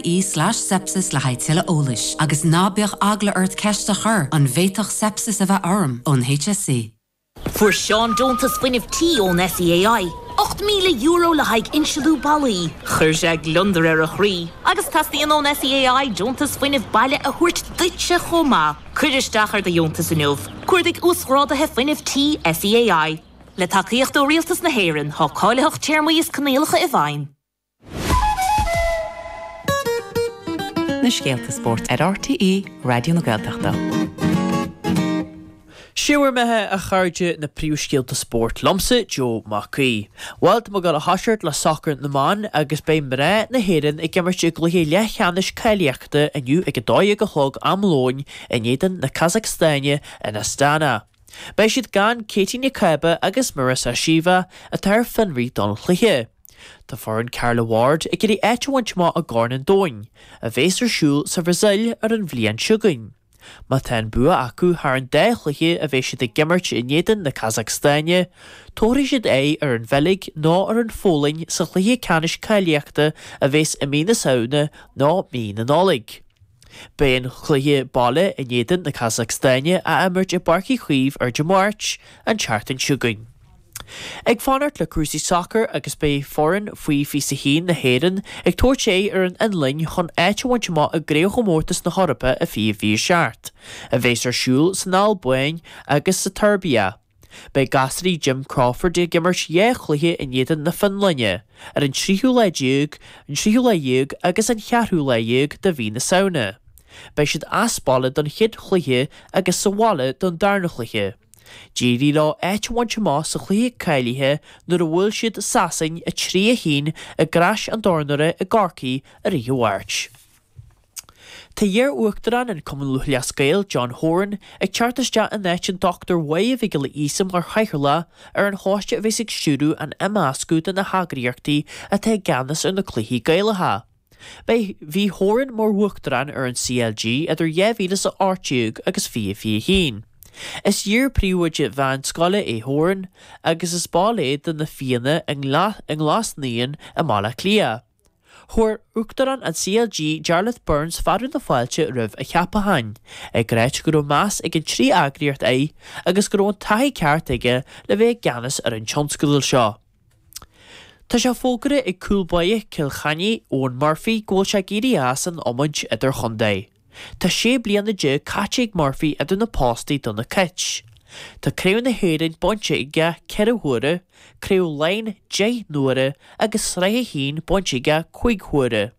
Ie slash sepsis le haghaidh tuilleadh eolais. Agus ná bíodh eagla ort ceist a chur, an bhféadfadh sepsis a bheith orm? ón HSE. Fuair Seán deontas fuinnimh tí ón SEAI, €8,000 le haghaidh insealú ballaí. Chuir sé gliondar ar a chroí. Agus teastaíonn ón SEAI deontas fuinnimh baile a thabhairt duitse chomh maith. Cuir isteach ar do dheontas inniu. Cuardaigh Uasghráduithe Fuinnimh Tí SEAI. Le tacaíocht ó Rialtas na hÉireann, tá cáilitheacht, téarmaí is coinníollacha i bhfeidhm. Na scéalta spóirt ar RTÉ Raidió na Gaeltachta. Sé bhur mbeatha, a chairde, na príomhscéalta spóirt liomsa, Joe Mac Aoidh. Bhuel, tá muid ag dul a thoiseacht le sacar na mban agus beidh mná na hÉireann ag imirt i gcluiche leathcheannais cáilíochta inniu ag 12 a chlog am lóin in éadan na Casacstáine in Astana. Beidh siad gan Katie Nic Cába agus Marissa Sheva atá ar fionraí don chluiche. Tá foireann Carla Ward ag iarraidh áit a bhaint amach i gCorn an Domhain, a bhéas ar siúl sa Bhrasaíl ar an bhliain seo chugainn. Má tá an bua acu thar an dá chluiche a bheidh siad ag imirt in éadan na Casacstáine, tabharfaidh siad aghaidh ar an Bheilg nó ar an Pholainn sa chluiche ceannais cáilíochta a bhéas i mí na Samhna nó mí na Nollag. Beidh an cluiche baile in éadan na Casacstáine á imirt i bPáirc Uí Chaoimh ar Dé Máirt, an tseachtain seo chugainn. Ag fanacht le cúrsaí sacair agus beidh foireann faoi 21 na hÉireann ag tabhairt aghaidh ar an Fhionlainn chun áit a bhaint amach i gCraobhchomórtas na hEorpa i 2027, a bheas ar siúl san Albáin agus sa tSeirbia. Beidh gasraí Jim Crawford ag imirt dhá chluiche in éadan na Fionlainne, ar an tríú lá déag, an tríú lá dhéag agus an cheathrú lá dhéag de mhí na Samhna. Beidh siad as baile don chéad chluiche agus sa bhaile don darna chluiche. D'éirigh leo áit a bhaint amach sa chluiche cáilithe nuair a bhuail siad Sasain 3, 1 i gCrois an Dornára i gCorcaigh ar oíche Mháirt. Tá iar-uachtarán an Cumann Lúthchleas Gael, John Horan, ag teacht isteach in áit an Dr Mháire Mhic Giolla Íosa mar chathaoirleach ar an choiste a bheas ag stiúradh an imeascadh de na heagraíochtaí atá i gceannas ar na cluichí Gaelacha. Beidh Bhí Horan mar uachtarán ar an CLG idir 2018 agus 2021. Is iar-phríomhoide mheánscoile é Horan agus is ball é de na Fianna i nGlas Naíon i mBaile Átha Cliath. Chuir Uachtarán an CLG Jarlath Burns fearadh na fáilte roimh a cheapachán, ag ráit go raibh meas ag an trí eagraíocht air agus go raibh an taithí ceart aige le bheith i gceannas ar an tionscadal seo. Tá sé fógartha ag cúl báire Chill Chainnigh, Eoin Murphy, go bhfuil sé ag éirí as an iomáint idirchontae. Tá 16 bliana caite ag Murphy idir na postaí do na Cait. Tá Craobh na hÉireann bainte aige 4 huaire, Craobh Laighean 10 n-uaire agus Sraith 1 bainte aige 5 huaire.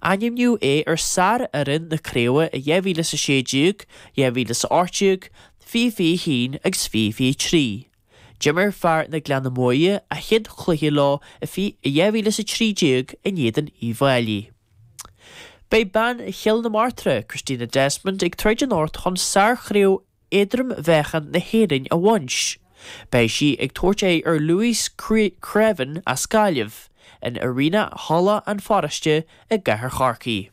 Ainmníodh é ar sár-fhoireann na craoibhe i 2016, 2018, 2021 agus 2023. D'imir fear na Gleanna Muaidhe a chéad chluiche leo i 2013 in éadan Uíbh Fhailí. Beidh bean Chill na Martra, Christina Desmond, ag troid anocht chun sár-chraobh éadrom-mheáchan na hÉireann a bhaint. Beidh sí ag tabhairt aghaidh ar Louise Creaven as Gaillimh in Arena Halla an Pharóiste i gcathair Chorcaí.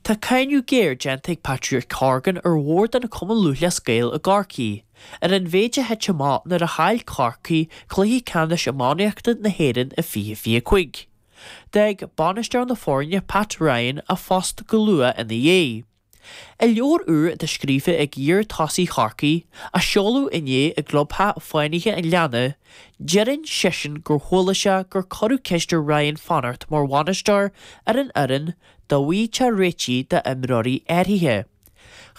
Tá cáineadh géar déanta ag Patrick Horgan ar bhord an Chumann Lúthchleas Gael i gCorcaigh ar an mhéid a thit amach nuair a chaill Corcaigh cluiche ceannais iománaíochta na hÉireann i 2025. D'fhág bainisteoir na foirne Pat Ryan a phost go luath ina dhiaidh. I leabhar úr atá scríofa ag iar-tosaí Chorcaí, a seoladh inné i gclubtheach Fánaithe an Ghleanna, deireann seisean gur chuala sé gur cuireadh ceist ar Ryan fanacht mar bhainisteoir ar an fhoireann dá bhfaighteá réitigh d'imreoirí áirithe.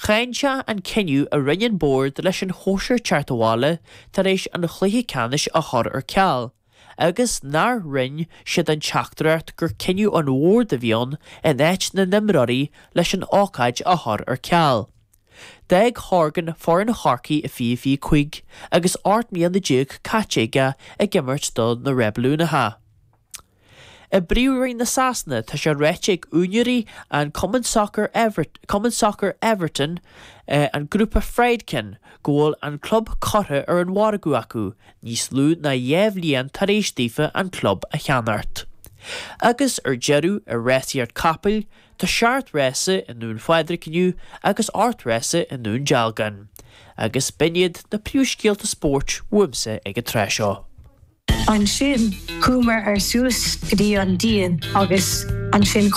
Cháin sé an cinneadh a rinne an bord leis an chóisir teacht abhaile tar éis an chluiche ceannais a chur ar ceal. agus nár roinn siad an teachtaireacht gur cinneadh an bhoird a bhí ann in áit na n-imreoirí leis an ócáid a chur ar ceal. D'fhág Horgan foireann Chorcaí i 2025 agus 18 mbliana caite aige ag imirt do na Reibiliúnaithe. I bPríomhroinn na Sasana, tá sé ráite ag úinéirí an Cumann Sacair Cumann Sacair Everton, an grúpa Friedkin, go bhfuil an club curtha ar an mhargadh acu, níos lú ná 2 bhliain tar éis daofa an club a cheannacht. Agus ar deireadh, i rásaíocht capaill, tá seacht rása i nDún Phádraig inniu agus ocht rása i nDún Dealgan. Agus b'in iad na príomhscéalta spóirt uaimse ag an tráth seo. Ansin chuamar ar suas go dtí an díon agus ansin.